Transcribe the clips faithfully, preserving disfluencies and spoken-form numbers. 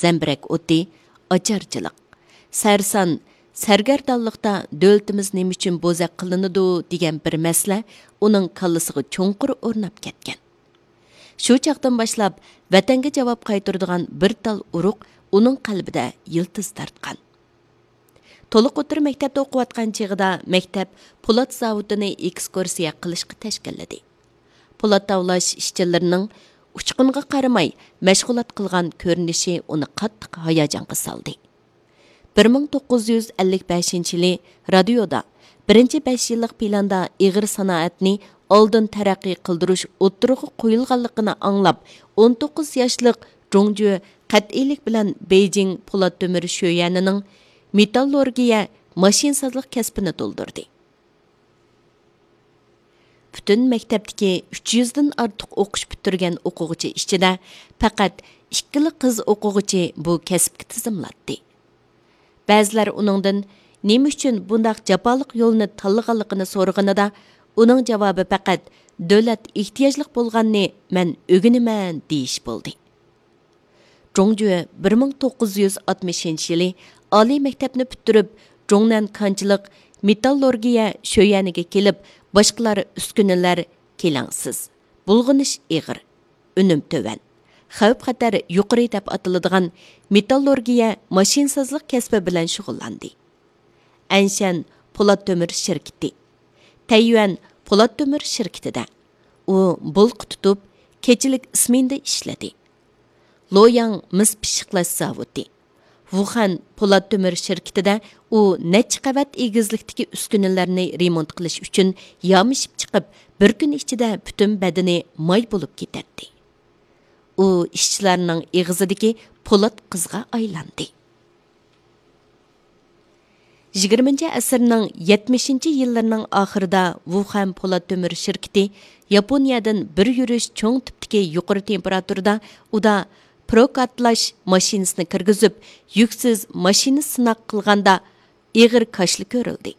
زەمبىرەك ئوتى، ئاچارچىلىق، سەرسان، سەرگەردانلىقتا دۆلىتىمىز نېمە ئۈچۈن بوزەك قىلىنىدۇ دېگەن بىر مەسىلە ئۇنىڭ كاللىسىغا چوڭقۇر ئورناپ كەتكەن. شۇ چاغدىن باشلاپ ۋەتەنگە جاۋاب قايتۇرىدىغان بىر تال ئۇرۇق ئۇنىڭ قەلبىدە يىلتىز تارتقان. تولۇق ئوتتۇرا مەكتەپتە ئوقۇۋاتقان چېغىدا مەكتەپ پولات زاۋۇتىنى ئېكسكۇرسىيە قىلىشقا تەشكىللىدى. پولات تاۋلاش ئىشچىلىرىنىڭ ئۇچقۇنغا قارىماي مەشغۇلات قىلغان كۆرۈنۈشى ئۇنى قاتتىق ھاياجانغا سالدى. بىر مىڭ توققۇز يۈز ئەللىك بەشىنچى يىلى رادىيودا بىرىنچى بەش يىللىق پىلاندا ئېغىر سانائەتنى ئالدىن تەرەققىي قىلدۇرۇش ئوتتۇرىغا قويۇلغانلىقىنى ئاڭلاپ، ئون توققۇز ياشلىق جۇڭجۈ قەتئىيلىك بىلەن بېيجىڭ پولات تۆمۈر شۆيۈەنىنىڭ مېتاللورگىيە ماشىنىسازلىق كەسپىنى تولدۇردى. پۈتۈن مەكتەپتىكى ئۈچ يۈزدىن ئارتۇق ئوقۇش پۈتتۈرگەن ئوقۇغۇچى ئىچىدە پەقەت ئىككىلا قىز ئوقۇغۇچى بۇ كەسىپكە تىزىملاتتى. بەزىلەر ئۇنىڭدىن نېمە ئۈچۈن بۇنداق جاپالىق يولنى تاللىغانلىقىنى سورىغىنىدا، ئۇنىڭ جاۋابى پەقەت دۆلەت ئېھتىياجلىق بولغاننى مەن ئۆگىنىمەن دېيىش بولدى. جۇڭجۈ بىر مىڭ توققۇز يۈز ئاتمىشىنچى يىلى ئالىي مەكتەپنى پۈتتۈرۈپ، جۇڭنەن كانچىلىق مېتاللورگىيە شۆيەنىگە كېلىپ، باشقىلار ئۈسكۈنىلەر كېلەڭسىز، بۇلغىنىش ئېغىر، ئۈنۈم تۆۋەن، خەۋپ-خەتەر يۇقىرى دەپ ئاتىلىدىغان مېتاللورگىيە ماشىنىسازلىق كەسپى بىلەن شۇغۇللاندى. ئەنشەن پولات تۆمۈر شىركىتى، تەييۈەن پولات تۆمۈر شىركىتىدە ئۇ بولقا تۇتۇپ، كېچىلىك ئىسمېندا ئىشلىدى. لوياڭ مىس پىششىقلاش زاۋۇتى، ۋۇخەن پولات تۆمۈر شىركىتىدە ئۇ نەچچە قەۋەت ئېگىزلىكتىكى ئۈسكۈنىلەرنى رېمونت قىلىش ئۈچۈن يامىشىپ چىقىپ، بىر كۈن ئىچىدە پۈتۈن بەدىنى ماي بولۇپ كېتەتتى. ئۇ ئىشچىلارنىڭ ئېغىزىدىكى پولات قىزغا ئايلاندى. يىگىرمىنچى ئەسىرنىڭ يەتمىشىنچى يىللىرىنىڭ ئاخىرىدا ۋۇخەن پولات تۆمۈر شىركىتى ياپونىيەدىن بىر يۈرۈش چوڭ تىپتىكى يۇقىرى تېمپېراتۇرىدا ئۇدا پروكاتلاش ماشىنىسىنى كىرگۈزۈپ، يۈكسىز ماشىنا سىناق قىلغاندا ئېغىر كاشىلا كۆرۈلدى.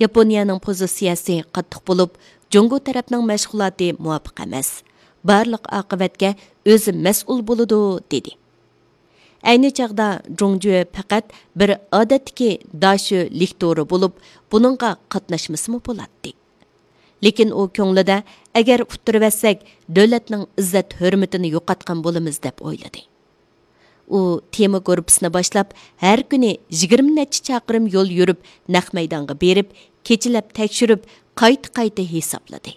ياپونىيەنىڭ پوزىتسىيەسى قاتتىق بولۇپ، جۇڭگو تەرەپنىڭ مەشغۇلاتى مۇۋاپىق ئەمەس. بارلىق ئاقىۋەتكە ئۆزى مەسئۇل بولىدۇ، دېدى. ئەينى چاغدا جۇڭجۈ پەقەت بىر ئادەتتىكى داشۆ لېكتورى بولۇپ، بۇنىڭغا قاتناشمىسىمۇ بولاتتى. لېكىن ئۇ كۆڭلىدە، ئەگەر ئۇتتۇرۇۋەتسەك، دۆلەتنىڭ ئىززەت-ھۆرمىتىنى يوقاتقان بولىمىز، دەپ ئويلىدى. ئۇ تېما گۇرۇپپىسىنى باشلاپ، ھەر كۈنى يىگىرمە نەچچە چاقىرىم يول يۈرۈپ، نەق مەيدانغا بېرىپ، كېچىلەپ تەكشۈرۈپ، قايتا-قايتا ھېسابلىدى.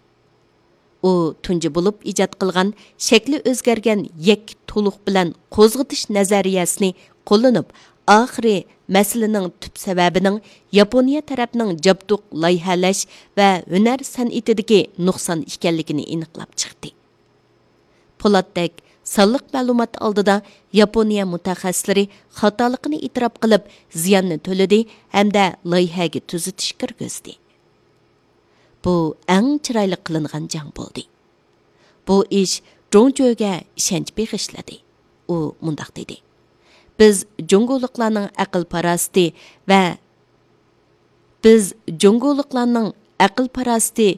ئۇ تۇنجى بولۇپ ئىجاد قىلغان شەكلى ئۆزگەرگەن يەككە تولۇق بىلەن قوزغىتىش نەزەرىيەسىنى قوللىنىپ، ئاخىرى مەسىلىنىڭ تۈپ سەۋەبىنىڭ ياپونىيە تەرەپنىڭ جابدۇق لايىھەلەش ۋە ھۈنەر سەنئىتىدىكى نۇقسان ئىكەنلىكىنى ئېنىقلاپ چىقتى. پولاتتەك سانلىق مەلۇمات ئالدىدا ياپونىيە مۇتەخەسسىسلىرى خاتالىقىنى ئېتىراپ قىلىپ، زىياننى تۆلىدى ھەمدە لايىھەگە تۈزىتىش كىرگۈزدى. بۇ ئەڭ چىرايلىق قىلىنغان جەڭ بولدى. بۇ ئىش جۇڭجۆگە ئىشەنچ بېغىشلىدى. ئۇ مۇنداق دېدى: «بىز جۇڭگولۇقلارنىڭ ئەقىل-پاراسىتى ۋە بىز جۇڭگولۇقلارنىڭ ئەقىل-پاراسىتى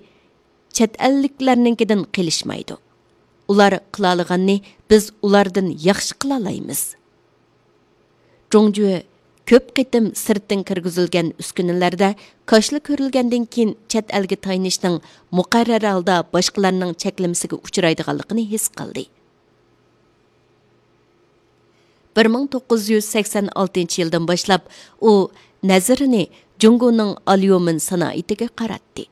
چەت ئەللىكلەرنىڭكىدىن قېلىشمايدۇ. ئۇلار قىلالىغاننى بىز ئۇلاردىن ياخشى قىلالايمىز.» جۇڭجۈ كۆپ قېتىم سىرتتىن كىرگۈزۈلگەن ئۈسكۈنىلەردە كاشىلا كۆرۈلگەندىن كېيىن چەت ئەلگە تايىنىشنىڭ مۇقەررەر ھالدا باشقىلارنىڭ چەكلىمىسىگە ئۇچرايدىغانلىقىنى ھېس قىلدى. بىر مىڭ توققۇز يۈز سەكسەن ئالتىنچى يىلدىن باشلاپ ئۇ نەزىرىنى جۇڭگونىڭ ئاليۇمىن سانائىتىگە قاراتتى.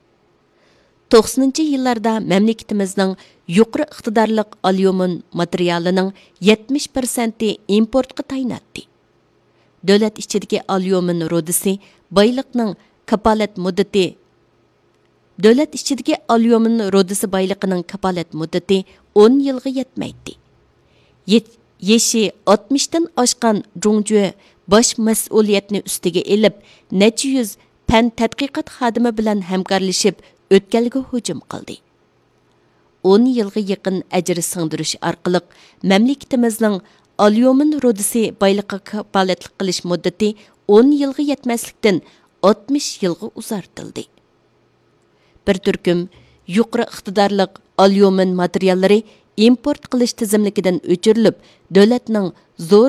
توقسىنىنچى يىللاردا مەملىكىتىمىزنىڭ يۇقىرى ئىقتىدارلىق ئاليۇمىن ماتېرىيالىنىڭ يەتمىش پىرسەنتى ئىمپورتقا تايىناتتى. دۆلەت ئىچىدىكى ئاليۇمىن رۇدىسى بايلىقنىڭ كاپالەت مۇددىتى، دۆلەت ئىچىدىكى ئاليۇمىن رۇدىسى بايلىقىنىڭ كاپالەت مۇددىتى ئون يىلغا يەتمەيتتى. يېت-، يېشى ئاتمىشتىن ئاشقان جۇڭجۈ باش مەسئۇلىيەتنى ئۈستىگە ئېلىپ، نەچچە يۈز پەن تەتقىقات خادىمى بىلەن ھەمكارلىشىپ ئۆتكەلگە ھۇجۇم قىلدى. ئون يىلغا يېقىن ئەجىر سىڭدۈرۈش ئارقىلىق مەملىكىتىمىزنىڭ ئاليۇمىن رۇدىسى بايلىقىغا كاپالەتلىك قىلىش مۇددىتى ئون يىلغا يەتمەسلىكتىن ئاتمىش يىلغا ئۇزارتىلدى. بىر تۈركۈم يۇقىرى ئىقتىدارلىق ئاليۇمىن ماتېرىياللىرى ئىمپورت قىلىش تىزىملىكىدىن ئۆچۈرۈلۈپ، دۆلەتنىڭ زور